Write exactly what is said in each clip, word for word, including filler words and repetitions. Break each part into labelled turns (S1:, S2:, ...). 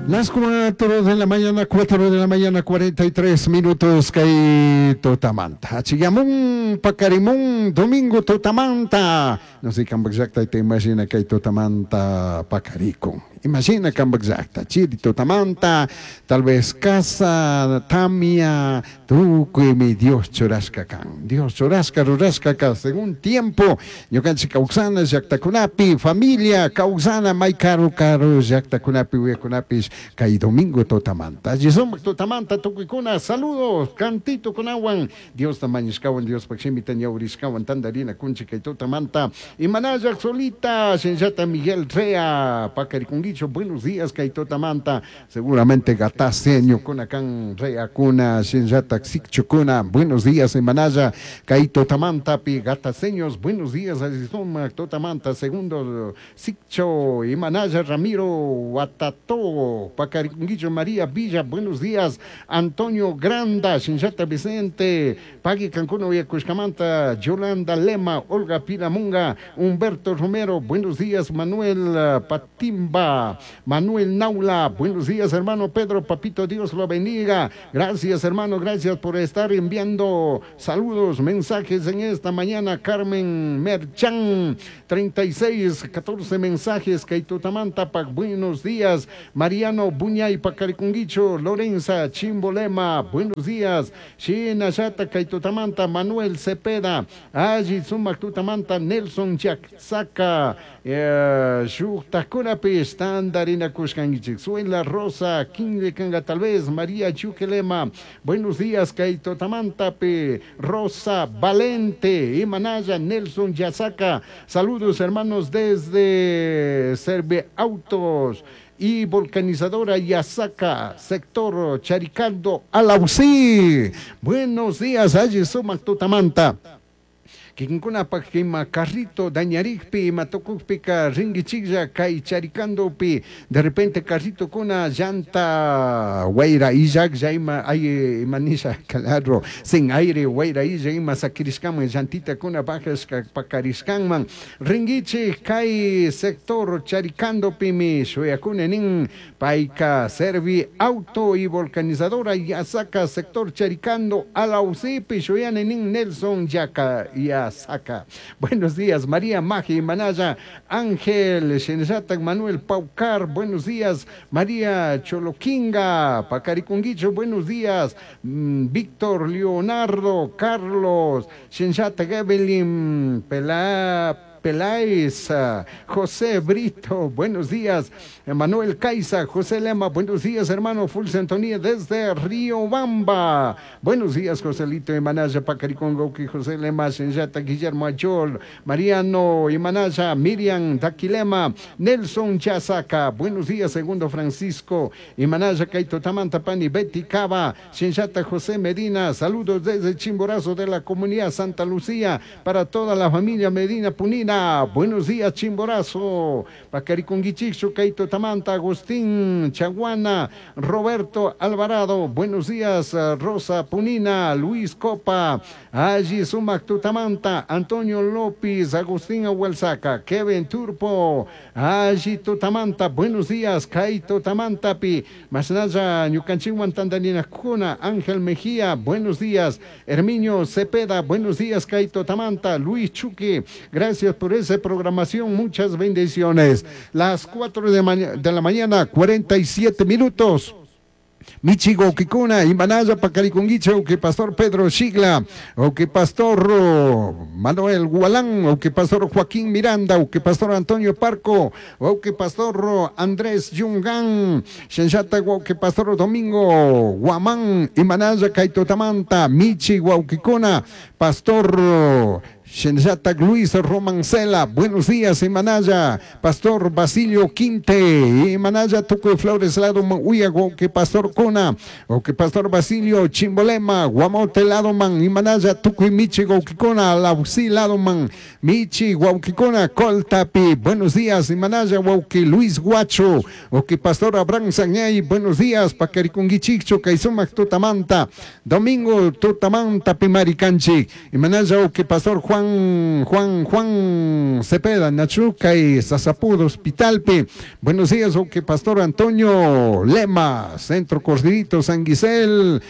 S1: Las cuatro de la mañana, cuatro de la mañana, cuarenta y tres minutos, kay tutamanta. Achiyamun, pakarimun, domingo tutamanta. No sé, kambak llakta te imagina kay tutamanta pakarikun. Imagina kambak llakta, chiri tutamanta, tal vez casa, tamia, tukuymi Dios churashka kan. Dios churashka, rurashka ka, según tiempo, ñukanchik kawsana llaktakunapi, familia kawsana, may karu karu llaktakunapi, uyakunapish, kay domingo tutamanta. Allí tutamanta tukuykuna, saludos, cantito kunawan, Diosta mañashkawan, Diospak shimita ñawrishkawan, tandarina kunchik kay tutamanta. Imanalla solita, Shinshata Miguel Rea, pakarikunguicho, buenos días kay tutamanta. Seguramente gataseño kuna kan Rea kuna, Shinshata Xikchukuna, buenos días Imanalla, kay tutamanta pi gataseños, buenos días, Alizoma, tutamanta, segundo Xikcho, Imanalla Ramiro Guatato, Pacarikunguicho María Villa, buenos días, Antonio Granda, Shinshata Vicente, Pagui Cancuno Yacushcamanta, Yolanda Lema, Olga Pilamunga, Humberto Romero, buenos días, Manuel Patimba, Manuel Naula, buenos días, hermano Pedro, papito, Dios lo bendiga, gracias, hermano, gracias por estar enviando saludos, mensajes en esta mañana. Carmen Merchan, treinta y seis, catorce mensajes, Kaitutamanta, buenos días, Mariano Buñay, Pacaricunguicho, Lorenza Chimbolema, buenos días, Shina Yata, Kaitutamanta, Manuel Cepeda, Aji Sumac Tutamanta, Nelson Yaksaka, eh, Shuktakunapi, Tandarina Kushkangichik, Suela Rosa, Kinle Kanga, tal vez, María Chuquelema, buenos días, Kaitutamanta, Pe, Rosa Valente, Imanaya, Nelson Yasaka, saludos hermanos desde Serve Autos y Volcanizadora Yasaka, sector Charicando, Alausí. Buenos días, allí Sumac Tutamanta. Kikinkunapak ima carrito dañarikpi, ima tukukpika ringichiklla kay charikandopi, de repente carrito kuna llanta wayra illaklla ima ay ima nisha claro, sin aire wayra illa ima sakirishkanman llantita kuna bajashka pakarishkanman ringichik kay sector charikandopimi shuyakuna nin payka servi auto y volcanizadora Yasaka, sector Charicando, Alausipi, shuyane nin Nelson Yaka ya Saca. Buenos días, María Maji Manaya, Ángel Shenzatak, Manuel Paucar, buenos días, María Choloquinga, Pacaricunguicho, buenos días, mm, Víctor Leonardo, Carlos, Shenzatak, Evelyn, Pelá, Peláez, José Brito, buenos días, Manuel Caiza, José Lema, buenos días, hermano Fulce Antonía, desde Río Bamba, buenos días, Joselito Imanaya, Pacaricongo, José Lema, Senyata, Guillermo Ayol, Mariano Imanaya, Miriam Daquilema, Nelson Chazaca, buenos días, segundo Francisco Imanaya, Kaito Tamanta, Pani, Betty Cava, Senyata, José Medina, saludos desde Chimborazo de la comunidad Santa Lucía, para toda la familia Medina Punina. Buenos días, Chimborazo, Pacaricunguichixo, Kaito Tamanta, Agustín Chaguana, Roberto Alvarado, buenos días, Rosa Punina, Luis Copa, Allí Sumac Tutamanta, Antonio López, Agustín Ahuelsaca, Kevin Turpo, Allí Tutamanta, buenos días, Kaito Tamanta, Pi, Masnaya, Ñucanchihuan Tandanina Cuna, Ángel Mejía, buenos días, Herminio Cepeda, buenos días, Kaito Tamanta, Luis Chuque, gracias por esa programación, muchas bendiciones. Las cuatro de, de la mañana, cuarenta y siete minutos. Michigo Kikuna, Imanaya Pacariconguiche, o que Pastor Pedro Xigla, o que Pastor Manuel Gualán, o que Pastor Joaquín Miranda, o que Pastor Antonio Parco, o que Pastor Andrés Yungán, Xenxata, o que Pastor Domingo Guamán, Imanaya Kaitotamanta, Michi Guauquicuna, Pastor Xenxata Luis Romancela, buenos días, Imanaya, Pastor Basilio Quinte, Imanaya Tuco Flores Lado Uyago, que Pastor Cuna, o que Pastor Basilio Chimbolema, Guamote Ladoman, Imanaya Tuco y Michi Guauquicona, Lausi Ladoman, Michi Guauquicona, Coltapi, buenos días, Imanaya Guauqui Luis Guacho, o que Pastor Abraham Sañay, buenos días, Pacaricunguichicho, Caizumac Tutamanta, Domingo Tutamanta, Pimaricanchi, Imanaya o que Pastor Juan Juan, Juan, Juan Cepeda, Nachuca y Sasapudo Hospitalpi. Buenos días, que Pastor Antonio Lema, Centro Corderito, San Guisel,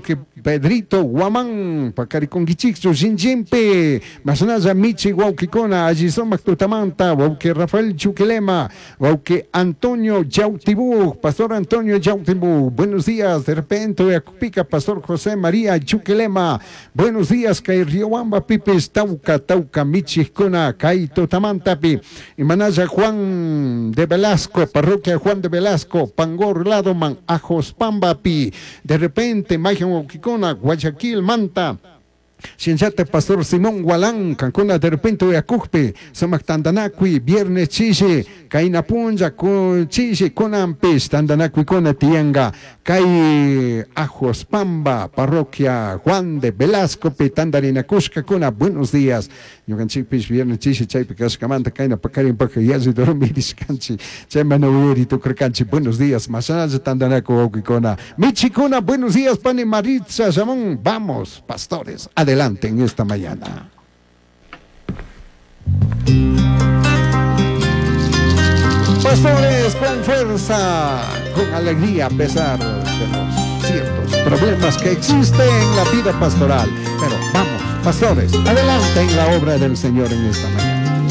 S1: que Pedrito Guamán, Pacariconguichixo, Xinjimpi, Masnaya Michi Guauquicona, Allizomac Tutamanta, Wauque Rafael Chuquilema, Wauque Antonio Yautibú, Pastor Antonio Yautibú, buenos días, de repente, Acupica, Pastor José María Chuquilema, buenos días, Kay Riobamba, Pipis, Tauca, Tauca, Michicona, Kay Tutamantapi, y Manaya Juan de Velasco, Parroquia Juan de Velasco, Pangor Ladoman, Ajos Pambapi, de repente, Mayan Wauquicona, Guayaquil, Manta, Shinchate Pastor Simón Gualán, Cancuna de repente Uyacujpe, Sumac Tandanacui, Viernes Chishi, Kainapunja, Chishi, Conampis, Tandanacui, Conatianga, Kai Ajos Pamba, Parroquia Juan de Velasco, Pitandarina Cusca, Cuna, buenos días. Ñukanchikpish viernes chishi chaypi kashkamanta kayna pakarinpaka yalli dormirishkanchik chaymana uyari tukurkanchik. Buenos días, mashanalla tandanaku wawqikuna. Michikuna, buenos días, pani Maritza Ramón. Vamos, pastores, adelante en esta mañana. Pastores, con fuerza, con alegría, a pesar de los ciertos problemas que existen en la vida pastoral. Pero vamos, pastores, adelante en la obra del Señor en esta mañana.